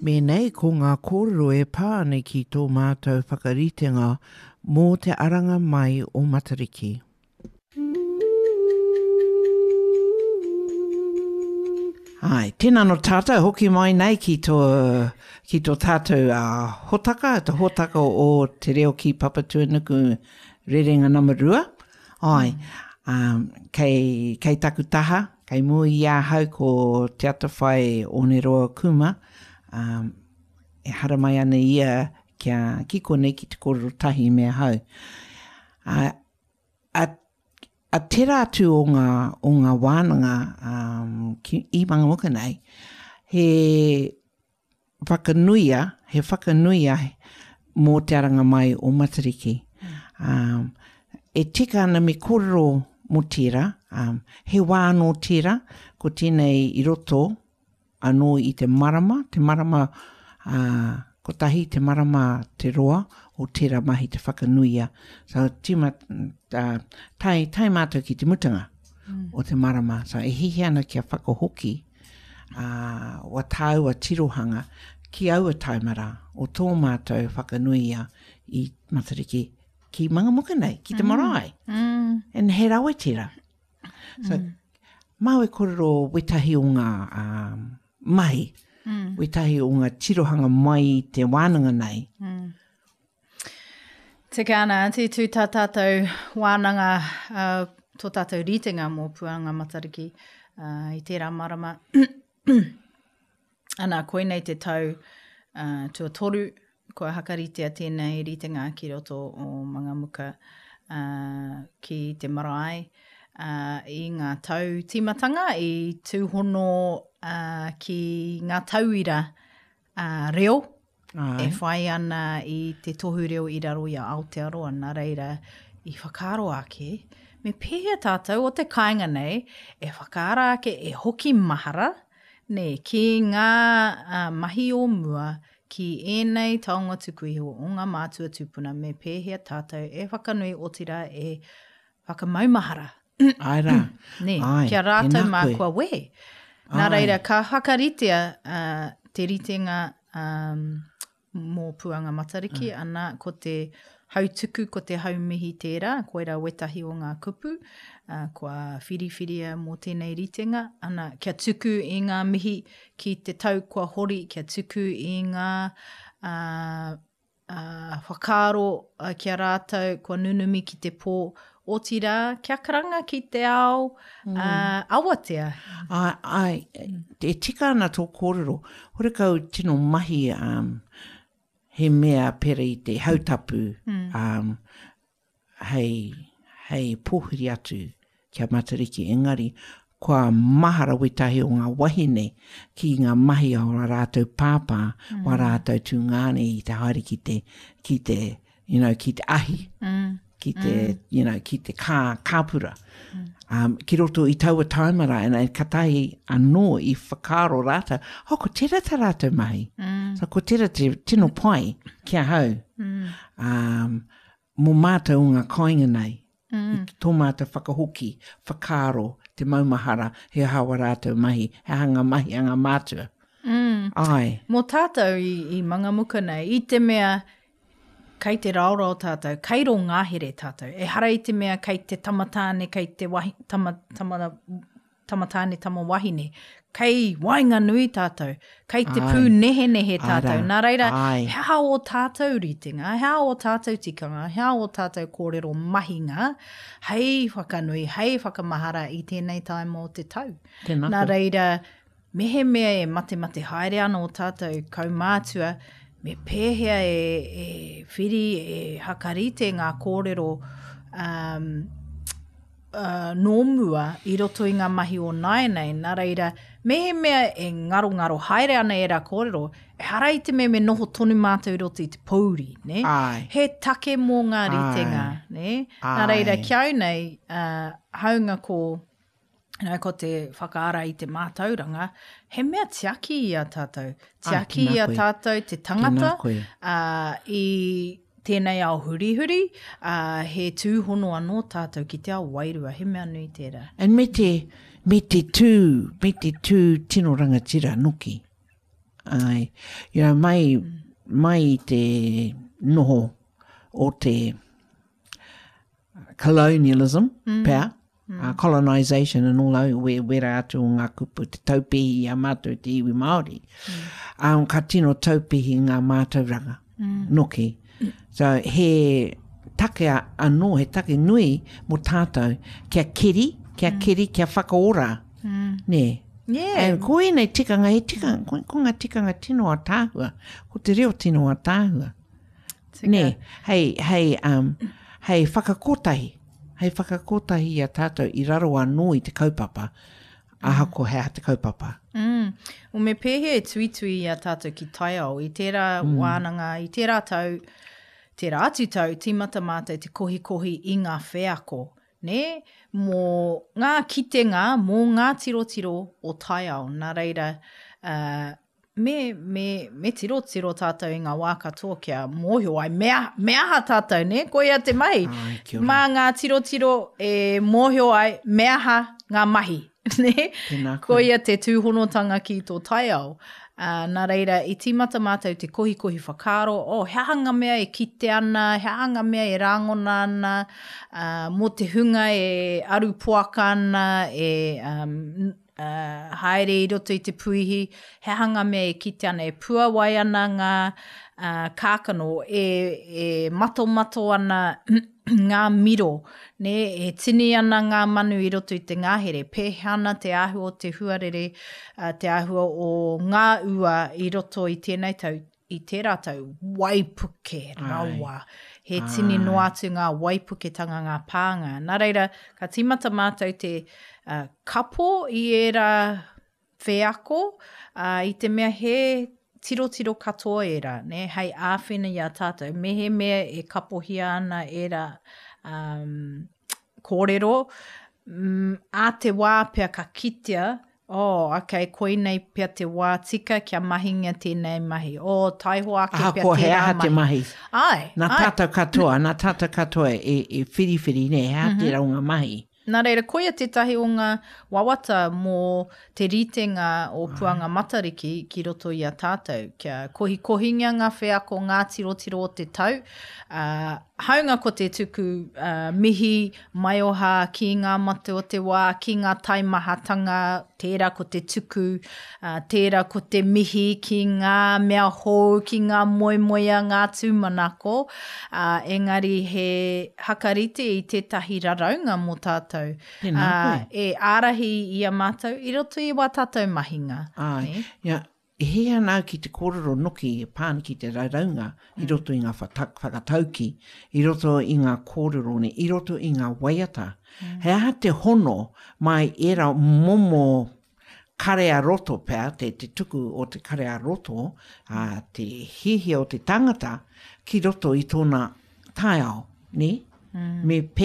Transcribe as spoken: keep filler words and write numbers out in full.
Mēnei ko ngā kōrero e pā ana ki tō mātou whakaritenga mō te aranga mai o Matariki. Ai, tēnā no tātou, hoki mai nei ki tō, ki tō tātou uh, hotaka, te hotaka o Te Reo ki Papatūānuku rerenga nama rua. Ai, um, kei, kei taku taha, kei mua i ahau ko Te Atawhai Oneroa Kuma, um, e haramai ana ia kia ki konei ki te kōrero tahi me ahau. A, a, a tērā atu o ngā, o ngā wānanga um, ki, i Mangamuka nei, he whakanuia, he whakanuia mō te aranga mai o Matariki. Um, e tika ana me kōrero mō tērā, um, he wā anō tērā, ko tēnei i roto anō i te marama, te marama uh, kotahi, te marama te roa o tērā mahi te whakanuia. So, tima, uh, tae, tae mātou ki te mutunga mm. o te marama. So, e hihi ana kia whakahoki uh, wa tāua tirohanga ki aua taimara o tō mātou whakanuia i Matariki ki Mangamuka nei, ki te marae. Mm. And he rawe tērā. So, mm. māu e kōrero wetahi o ngā um, mahi, mm. wetahi o ngā tirohanga mai i te wānanga nei. Mm. Tika ana, aunty, tū tā tātou wānanga, uh, tō tātou ritenga mō Puanga Matariki uh, i tērā marama. Ana, koinei te tau uh, tuatoru, kua hakaritea tēnei ritenga ki roto o Mangamuka uh, ki te marae. Uh, i ngā tau tīmatanga, i tūhono uh, ki ngā tauira uh, reo. Ai. E whai ana i te tohu reo i raro i a Aotearoa, nā reira i whakaaro ake, me pēhea tātou o te kāinga nei e whakaara ake e hoki mahara, nē, ki ngā uh, mahi o mua, ki ēnei taonga tuku iho o ngā mātua tūpuna, me pēhea tātou e whakanui otirā e whakamaumahara. Ai rā. Nē, Ai, kia rātou tēnā mā koe. kua wehe. Nā Ai. reira, ka whakaritea uh, te ritenga um, mō Puanga Matariki, Mm. ana ko te hautuku, ko te haumihi tērā, koirā wetahi o ngā kupu, uh, kua whiriwhiria mō tēnei ritenga, ana kia tuku i ngā mihi ki te tau kua hori, kia tuku i ngā uh, uh, whakaaro uh, kia rātou kua nunumi ki te pō, otirā, kia karanga ki te ao mm. uh, awatea. Ai, ai, e tika ana tō kōrero, horekau tino mahi um, he mea pera i te hautapu mm. um, hei, hei pōhiri atu kia Matariki. Engari, kua mahara wetahi o ngā wahine ki ngā mahi o rā rātou pāpā, mm. wa rātou tūngāne i te haere ki te, ki te, you know, ki te ahi, mm. ki te, mm. you know, ki te kā, kāpura. Mm. Um, ki roto i taua taimara, and, and katahi anō i whakaaro rātou, oh, ko tērā tā rātou mahi. Mm. So, ko tērā te tino pai ki ahau. Mm. Um, mō mātou o ngā kāinga nei, mm. i tō mātou whakahoki, whakaaro, te maumahara, he aha wa rātou mahi, he aha ngā mahi a ngā mātua. Mm. Ai. Mō tātou i, i Mangamuka nei, i te mea kei te raorao tātou, kei rō ngāhere tātou. Ehara i te mea kei te tamatāne, kei te wahi, tama, tama, tamatāne, tama wahine. Kei waenganui tātou, kei te Ai. pūnehenehe Ai tātou. rā. Nā reira, Ai. he aha o tātou ritenga, he aha o tātou tikanga, he aha o tātou kōrero mahinga, hei whakanui, hei whakamahara i tēnei taima o te tau. Tēnā Nā koe. reira, mehemea e matemate haere ana o tātou kaumātua, me pēhea e, e whiri, e hakarite ngā kōrero um, uh, nō mua i roto i ngā mahi o nāianei. Nā reira, mehemea e ngarongaro haere ana e rā kōrero, ehara i te mea me noho tonu mātou i roto i te pōuri, ne? Ai. He take mō ngā ritenga, Ai. ne? Nā reira, Ai. ki au nei, uh, haunga ko, you know, ko te whakaara i te mātauranga, he mea tiaki i a tātou. Tiaki tēnā i a koe. tātou te tangata, Tēnā koe. uh, i tēnei ao hurihuri, uh, he tūhono anō tātou ki te ao wairua, he mea nui tērā. And me te, me te tū, me te tū tino rangatira noki. Ai. You know, mai, mai i te noho o te colonialism, mm. pea, mm. Uh, colonisation and all those, we, wera atu o ngā kupu, te taupihi i a mātou te iwi Māori. Mm. Um, ka tino taupihi ngā mātauranga, mm. noki. So, he take anō, he take nui mō tātou, kia keri, kia mm. keri, kia whakaora. Mm. Nē. Yeah. And ko ēnei tikanga, he tikanga, ko, ko ngā tikanga tino ātaahua, ko te reo tino ātaahua. Nē, hei, hei, um, hei whakakotahi, hei whakakotahi i a tātou i raro anō i te kaupapa, ahakoa he aha te kaupapa. Mm. O me pēhea e tuitui i a tātou ki taiao, i tērā mm. wānanga, i tērā tau, tērā atu tau, tīmata mātou te kohikohi i ngā wheako, nē, mō ngā kitenga, mō ngā tirotiro o taiao. Nā reira, uh, me, me, me tirotiro tātou i ngā wā katoa kia mōhio ai, me, me aha tātou, nē, koia te mahi. Ai, kia ora. Mā ngā tirotiro e mōhio ai, me aha ngā mahi, nē? Tēnā koe. Koia te tūhonotanga ki tō taiao. Uh, nā reira, i tīmata mātou te kohikohi whakaaro, oh, he aha ngā mea e kite ana, he aha ngā mea e rāngona ana, uh, mō te hunga e aru poaka ana, e um, uh, haere i roto i te puihi, he aha ngā mea e kite ana, e puawai ana ngā uh, kākano, e, e matomato ana ngā miro, nē, e tini ana ngā manu i roto i te ngahere, pēhea ana te āhua o te huarere, uh, te āhua o ngā ua i roto i tēnei tau, i tērā tau, waipuke rawa. He tini noa atu ngā waipuketanga, ngā pānga. Nā reira, ka tīmata mātou te uh, kapo i ērā wheako, uh, i te mea he tirotiro katoa ērā, nē, hei āwhina i a tātou. Mehemea e kapohia ana ērā um, kōrero, mm, a te wā pea ka kitea, oh, okay, koinei pea te wā tika kia mahingia tēnei mahi. Oh, taihoa ake pea Ahakoa he tērā aha te mahi. Ai, Nā ai. tātou katoa, nā tātou katoa e, e whiriwhiri, nē, he aha mm -hmm. tērā o ngā mahi. Nā reira, koia tētahi o ngā wawata mō te ritenga o Puanga Matariki ki roto i a tātou. Kia kohikohingia ngā wheako, ngā tirotiro o te tau. Uh, hāunga ko te tuku uh, mihi maioha ki ngā mate o te wā, ki ngā taimahatanga, tērā ko te tuku, uh, tērā ko te mihi ki ngā mea hou, ki ngā moemoea, ngā tūmanako. Uh, engari he hakarite i tētahi raraunga mō tātou. Tēnā Uh, koe. e ārahi i a mātou i roto i wā tātou mahinga. Ai, Nē? ia, e hē ana au ki te kōrero noki e pā ana ki te raraunga i roto i ngā whakatauki, i roto i ngā kōrero, ne, i roto i ngā waiata. Mm. He aha te hono mai ērā momo kare a roto pea, te, te tuku o te kare a roto, a, te hiahia o te tangata ki roto i tōna taiao, ne? Mm. Me pēhea